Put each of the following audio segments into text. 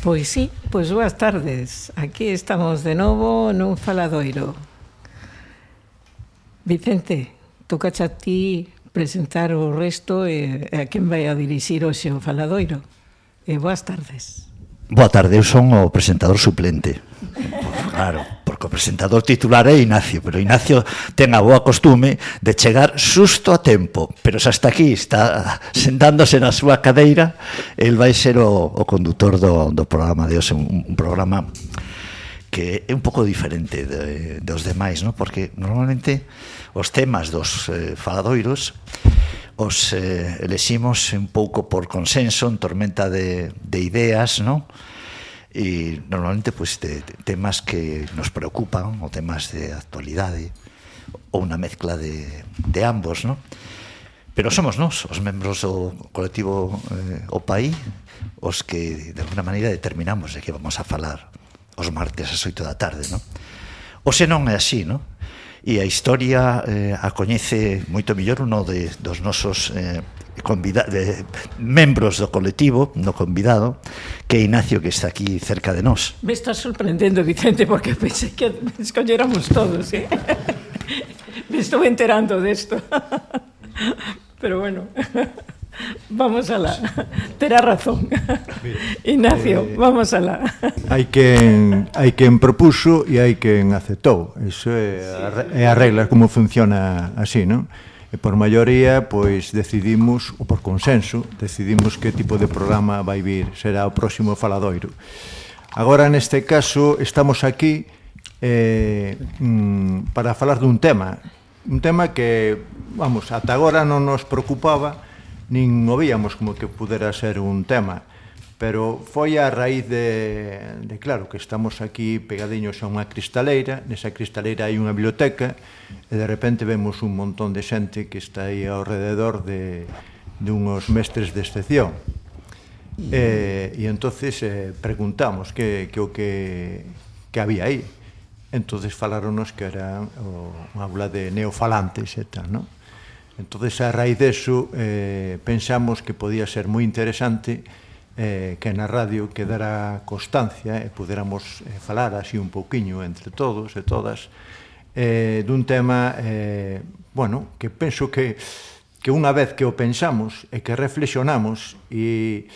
Pois sí, pois boas tardes. Aquí estamos de novo nun faladoiro. Vicente, tocache a ti presentar o resto e a quen vai a dirixir hoxe o faladoiro. E boas tardes. Boa tarde, eu son o presentador suplente. Claro, porque o presentador titular é Ignacio, pero Ignacio ten a boa costume de chegar xusto a tempo, pero se hasta aquí está sentándose na súa cadeira, el vai ser o condutor do programa de hoxe, un programa que é un pouco diferente dos demais, ¿no? Porque normalmente os temas dos faladoiros os eleximos un pouco por consenso, en tormenta de ideas, ¿no? E normalmente pues, de temas que nos preocupan, ou temas de actualidade, ou unha mezcla de ambos, ¿no? Pero somos nós, os membros do colectivo O País, os que de alguna maneira determinamos de que vamos a falar os martes ás 8 da tarde, ¿no? O se non é así, ¿no? E a historia a coñece moito mellor uno dos nosos membros do colectivo, no convidado, que é Ignacio, que está aquí cerca de nós. Me estás sorprendendo, Vicente, porque pensei que escolléramos todos, ¿eh? Me estou enterando desto. Pero bueno, vamos alá. Terá razón. Ignacio, vamos alá. Hai quen propuso e hai quen aceptou. Iso é a regla como funciona así, non? E por maioría, pois, decidimos, ou por consenso, decidimos que tipo de programa vai vir, será o próximo faladoiro. Agora, neste caso, estamos aquí para falar dun tema que, vamos, ata agora non nos preocupaba, nin o víamos como que pudera ser un tema, pero foi a raíz de claro, que estamos aquí pegadiños a unha cristaleira, nesa cristaleira hai unha biblioteca, e de repente vemos un montón de xente que está aí ao rededor de unhos mestres de excepción. E entonces preguntamos que había aí. Entonces falaronos que era unha aula de neofalantes e tal, non? Entonces, a raíz deso, pensamos que podía ser moi interesante que na radio quedara constancia e puderamos falar así un pouquiño entre todos e todas dun tema, bueno, que penso que unha vez que o pensamos e que reflexionamos e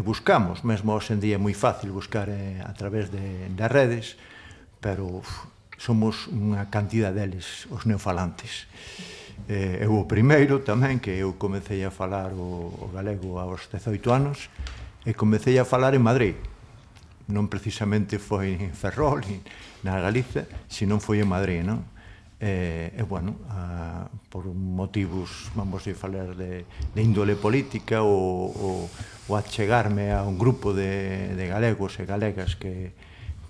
buscamos, mesmo hoxe en día é moi fácil buscar a través das redes, pero somos unha cantidad deles, os neofalantes. Eu o primeiro tamén, que eu comecei a falar o galego aos 18 anos e comecei a falar en Madrid. Non precisamente foi en Ferrol, na Galiza, senón foi en Madrid, non? E, bueno, por motivos, vamos a falar de índole política ou achegarme a un grupo de galegos e galegas que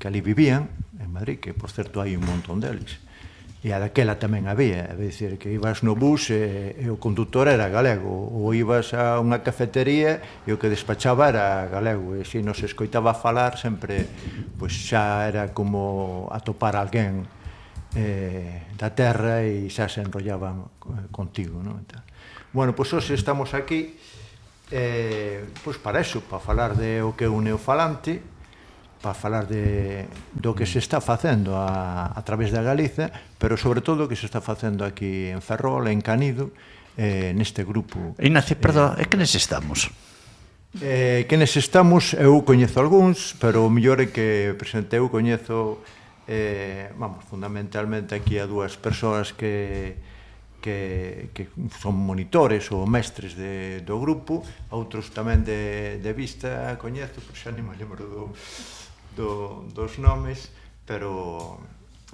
ali vivían, en Madrid, que, por certo, hai un montón deles. E a daquela tamén había, é dicir, que ibas no bus e o conductor era galego, ou ibas a unha cafetería e o que despachaba era galego, e se nos escoitaba falar sempre, pois xa era como atopar alguén da terra e xa se enrollaban contigo, non? Bueno, pois hoxe estamos aquí pois para eso, para falar de o que é un neofalante, para falar do que se está facendo a través da Galiza, pero sobre todo o que se está facendo aquí en Ferrol, en Canido, neste grupo. Ignacio, perdón, é que nes estamos? Que nes estamos, eu coñezo algúns, pero o mellor é que presente eu coñezo, vamos, fundamentalmente aquí a dúas persoas que son monitores ou mestres do grupo, outros tamén de vista coñezo, pero xa nem me lembro dos nomes, pero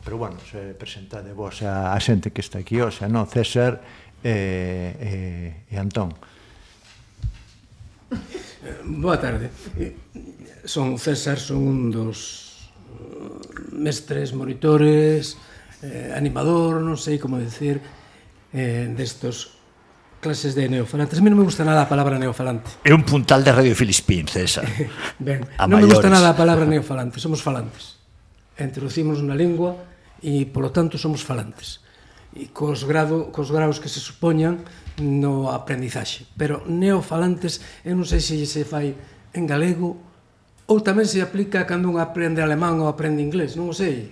bueno, se presentade vos a xente que está aquí hoxe, non? César e Antón. Boa tarde. Son César, son un dos mestres, monitores, animador, non sei como decir, destos clases de neofalantes. A mí non me gusta nada a palabra neofalante. É un puntal de Radio Filispín, César. Ben, non me gusta nada a palabra neofalante, somos falantes. Introducimos na lingua e, polo tanto, somos falantes. E cos graus que se supoñan no aprendizaxe. Pero neofalantes, eu non sei se fai en galego Ou tamén se aplica cando un aprende alemán ou aprende inglés, non o sei.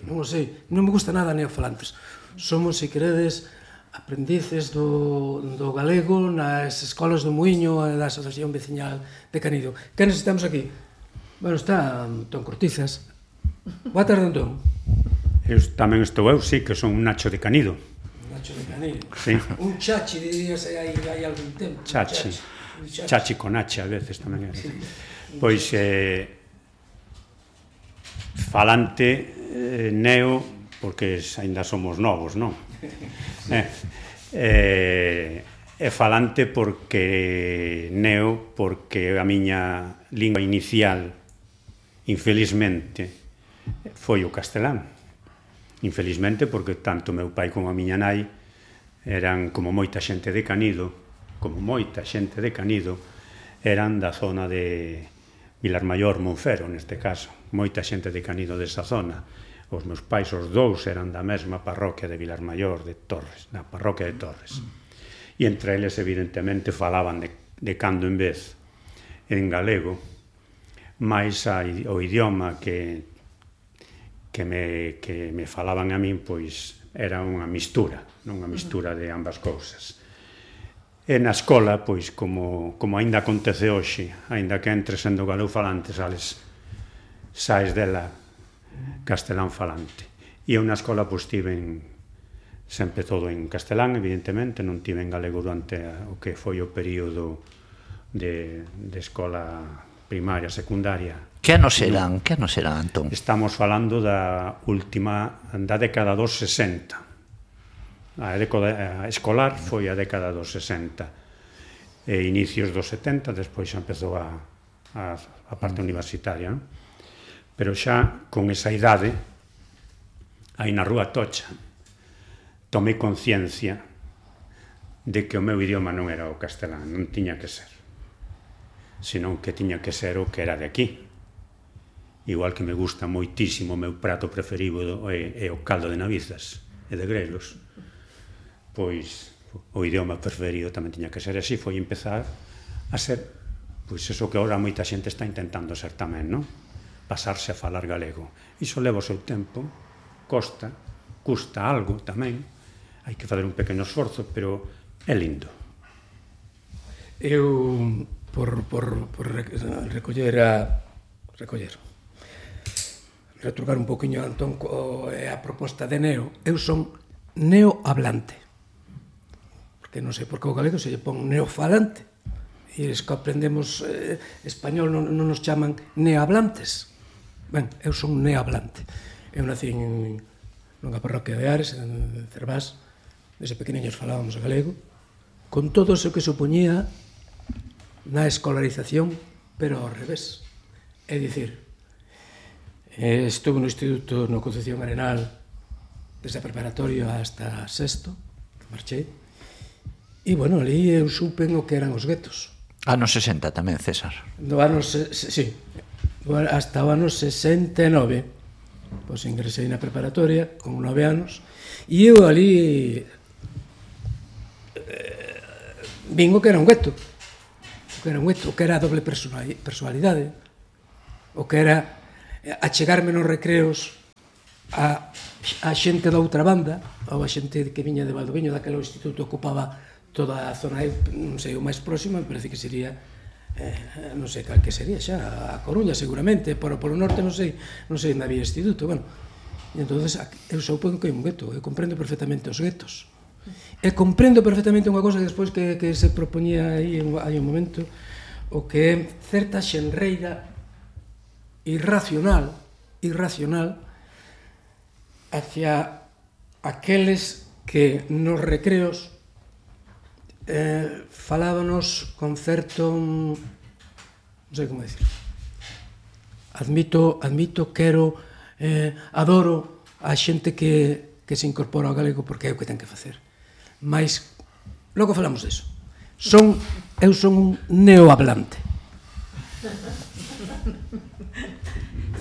Non me gusta nada neofalantes. Somos, se queredes, aprendices do galego nas escolas do Muiño e da Asociación Veciñal de Canido. Que necesitamos aquí? Bueno, está Antón Cortizas. Boa tarde, Antón. Tamén estou eu, sí, que son un Nacho de Canido. Nacho de Canido. Sí. Un chachi, dirías, hai algún tempo. Chachi con H, a veces tamén era. Pois, falante, neo, porque aínda somos novos, non? É falante porque neo, porque a miña lingua inicial, infelizmente, foi o castelán. Infelizmente, porque tanto meu pai como a miña nai eran, como moita xente de Canido, eran da zona de Vilarmaior, Monfero, neste caso. Moita xente de Canido desa zona. Os meus pais, os dous, eran da mesma parroquia de Vilarmaior, de Torres, na parroquia de Torres. E entre eles, evidentemente, falaban de cando en vez en galego, máis o idioma que me falaban a min, pois, era unha mistura, non unha mistura de ambas cousas. E na escola, pois, como aínda acontece hoxe, aínda que entres sendo galego falante, saes dela castelán falante. E eu na escola, pois, tiven sempre todo en castelán, evidentemente, non tiven galego durante o que foi o período de escola primaria, secundaria. Que anos eran, Antón? Estamos falando da década dos 60. A escolar foi a década dos 60 e inicios dos 70, despois xa empezou a parte universitaria, non? Pero xa con esa idade, aí na Rúa Tocha, tomei conciencia de que o meu idioma non era o castelán, non tiña que ser, senón que tiña que ser o que era de aquí. Igual que me gusta moitísimo, o meu prato preferido é o caldo de navizas e de grelos, pois o idioma preferido tamén tiña que ser así. Foi empezar a ser, pois eso que agora moita xente está intentando ser tamén, non? Pasarse a falar galego. Iso leva o seu tempo, custa algo tamén, hai que fazer un pequeno esforzo, pero é lindo. Eu, por retrucar un poquinho a Antón a proposta de neo, eu son neohablante, porque non sei por que o galego se lle pon neofalante, e eles que aprendemos español non nos chaman neohablantes. Ben, eu son neohablante. Eu nací nunha parroquia de Ares, en Cervás. Desde pequeniños falábamos galego, con todo o que supoñía na escolarización, pero ao revés. É dicir, estuve no instituto no Concepción Arenal desde a preparatoria hasta sexto, que marchei, e, bueno, ali eu supen o que eran os guetos. Anos 60 tamén, César. Sí, hasta o ano 69, pois ingresei na preparatoria con 9 anos, e eu ali vin o que era un gueto, o que era a doble personalidade, o que era achegarme nos recreos a xente da outra banda, ou a xente que viña de Valdoviño, daquele instituto ocupaba toda a zona, non sei, o máis próximo, me parece que sería, non sei cal que sería xa, a Coruña seguramente, pero polo norte non sei onde había instituto, bueno, e entonces eu supongo que é un gueto, eu comprendo perfectamente os guetos, e comprendo perfectamente unha cosa que despois que se propoñía aí hai un momento, o que é certa xenreira irracional hacia aqueles que nos recreos falábanos con certo, non sei como decir, admito, adoro a xente que se incorpora ao galego porque é o que ten que facer, mas logo falamos deso. Eu son un neohablante.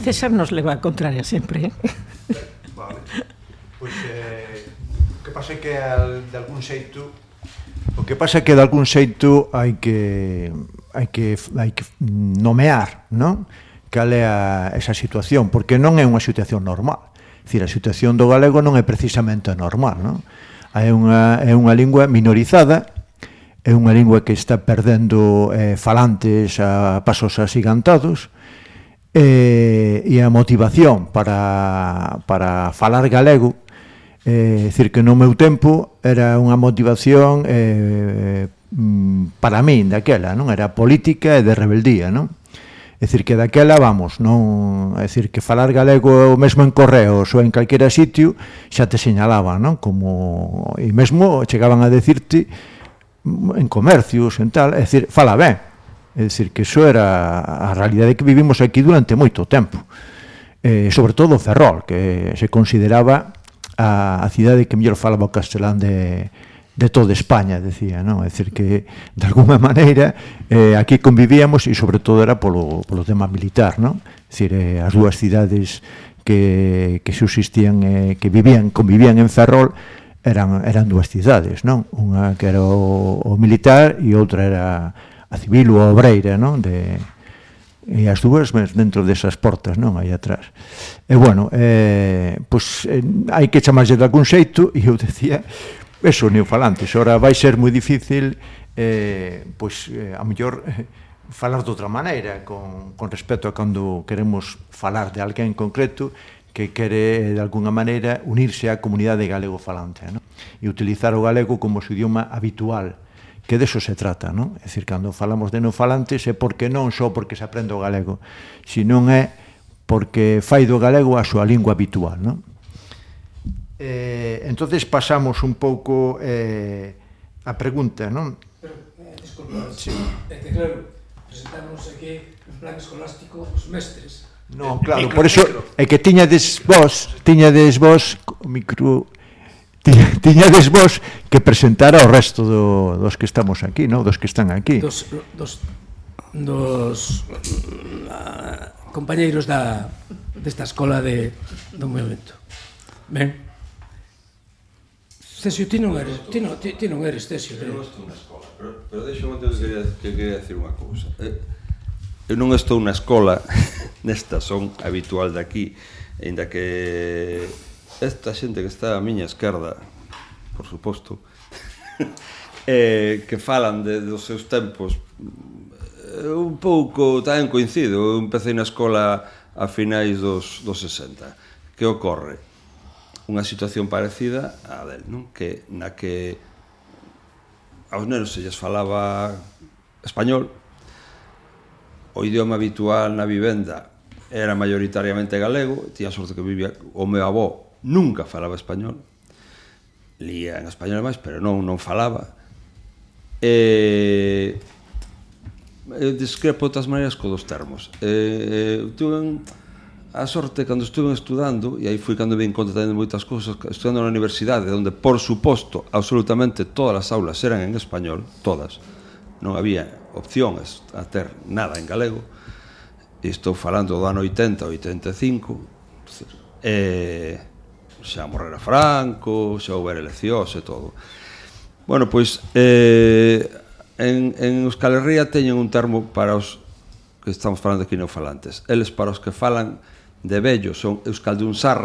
César nos leva a contraria sempre. Vale. Pois o que pasa é que de algún xeito hai que nomear, non? cal é esa situación, porque non é unha situación normal. É dicir, a situación do galego non é precisamente normal, non? É unha lingua minorizada, é unha lingua que está perdendo falantes a pasos asigantados, e a motivación para falar galego, é dicir, que no meu tempo era unha motivación para min daquela, non? Era política e de rebeldía, non? É dicir, que daquela, vamos, non, é dicir, que falar galego mesmo en correos ou en calquera sitio xa te señalaban, non? Como, e mesmo chegaban a decirte en comercios, en tal, é dicir, fala ben. É dicir, que iso era a realidade que vivimos aquí durante moito tempo. Sobre todo Ferrol, que se consideraba a cidade que mellor falaba o castelán de toda España, decía, non? É dicir, que de alguma maneira aquí convivíamos, e sobre todo era polo tema militar, non? É dicir, as dúas cidades que subsistían, que convivían en Ferrol, eran dúas cidades, non? Unha que era o militar e outra era a civil ou a obreira, non? E as dúas dentro desas portas, non? Aí atrás. E, bueno, pois hai que chamarlle de algún xeito, e eu decía, eso, neofalantes. Ora vai ser moi difícil, pois, a mellor, falar de outra maneira, con respecto a cando queremos falar de alguén en concreto que quere, de alguna maneira, unirse á comunidade galego-falante, non? E utilizar o galego como o seu idioma habitual, que deso se trata, non? É dicir, cando falamos de neofalantes é porque non só porque se aprende o galego, senón é porque fai do galego a súa lingua habitual, non? Entonces pasamos un pouco a pregunta, non? Pero, disculpa, sí. É que claro, presentamos aquí en plan escolástico os mestres. Non, claro, por eso é que tiñades vos o micro, tiñades vos que presentar ao resto dos que estamos aquí, non? Dos que están aquí. Dos compañeiros desta escola do movimento. Ben. Cesio, ti non eres Cesio. Eu non estou na escola, pero deixo que quería decir unha cousa. Eu non estou na escola, nesta son habitual de aquí, ainda que esta xente que está a miña esquerda, por suposto, que falan dos seus tempos, un pouco tamén coincido. Eu empecé na escola a finais dos 60. Que ocorre? Unha situación parecida á del, non? Na que aos nenos se lles falaba español, o idioma habitual na vivenda era maioritariamente galego, tía sorte que vivía, o meu avó nunca falaba español, lía en español máis, pero non falaba. Eu discrepo de outras maneiras co dos termos. Tuve a sorte cando estuve estudando, e aí foi cando vin conta tamén de moitas cousas, estudando na universidade, onde, por suposto, absolutamente todas as aulas eran en español, todas, non había opcións a ter nada en galego, e estou falando do ano 80, 85, xa morrera Franco, xa houbera eleccións e todo. Bueno, pois, en Euskal Herria teñen un termo para os que estamos falando aquí neofalantes. Eles, para os que falan de vello, son euskaldunsarra,